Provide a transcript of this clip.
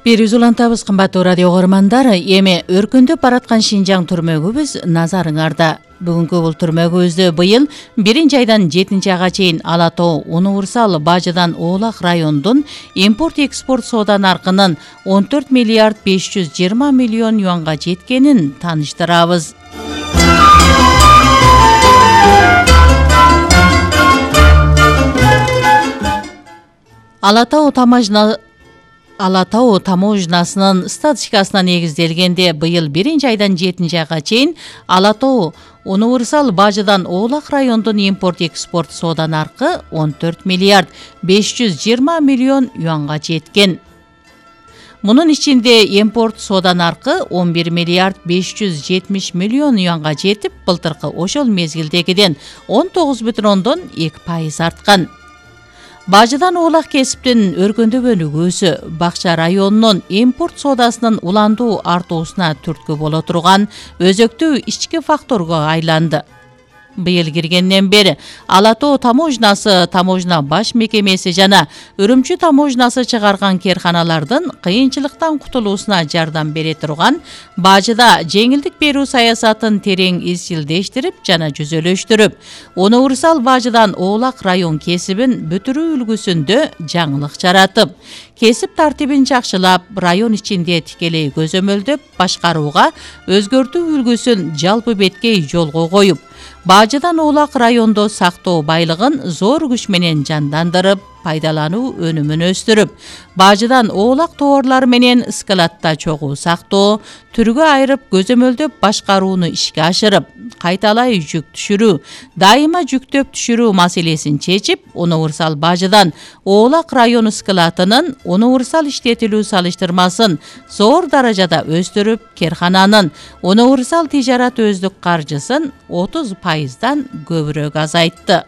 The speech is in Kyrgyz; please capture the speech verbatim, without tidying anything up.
Бир үз улантабыз, кымбаттуу радио көрөрмандар. Эми өркүндөп бараткан Шинжаң түрмөгүбүз назарыңарда. Бүгүнкү бул түрмөгүбүздө быйыл биринчи айдан жетинчи айга чейин Ала Тоо универсал бажыдан Оолак райондун импорт-экспорт соода наркынын он төрт миллиард беш жүз жыйырма миллион юанга жеткенин тааныштырабыз. Ала Тоо тамажна Ала Тоо таможнасынын статистикасына негизделгенде быйыл биринчи айдан жетинчи айга чейин Ала Тоо универсал бажыдан Оолак райондун импорт-экспорт соода наркы он төрт миллиард беш жүз жыйырма миллион юанга жеткен. Мунун ичинде импорт соода наркы он бир миллиард беш жүз жетимиш миллион юанга жетип, былтыркы ошол мезгилдегиден он тогуз бүтүн ондон эки пайыз арткан. Бажыдан Оолак кесиптин өркүндөбөнүгүүсү Бакча районунун импорт соодасынын уландуу артуусуна түрткү боло турган өзөктүү ички факторго айланды. Быйыл киргенден бери Ала Тоо таможнасы, таможна баш мекемеси жана Үрүмчү таможнасы чыгарган керканалардын кыйынчылыктан кутулуусуна жардам бере турган бажыда жеңилдик берүү саясатын терең изчилдештирип жана жүзөлөштүрүп, универсал бажыдан Оолак район кесибин бүтүрүү үлгүсүндө жаңылык жаратып, кесип тартибин жакшылап, район ичинде тикелей көзөмөлдөп башкарууга өзгөртүү үлгүсүн жалпы беткей жолго коюп, бажыдан Оолак райондо сактоо байлыгын зор күч менен жандандырып, пайдалануу өнүмүн өстүрүп, бажыдан Оолак товарлары менен складта чогуу сактоо, түргө айырып көзөмөлдөп башкарууну ишке ашырып, кайталай жүк түшүрүү, дайыма жүктөп түшүрүү маселесин чечип, универсал бажыдан Оолак району складынын универсал иштетилүү салыштырмасын зор даражада өстүрүп, керкананын универсал тижарат өздүк каржысын отуз пайыздан көбүрөөк азайтты.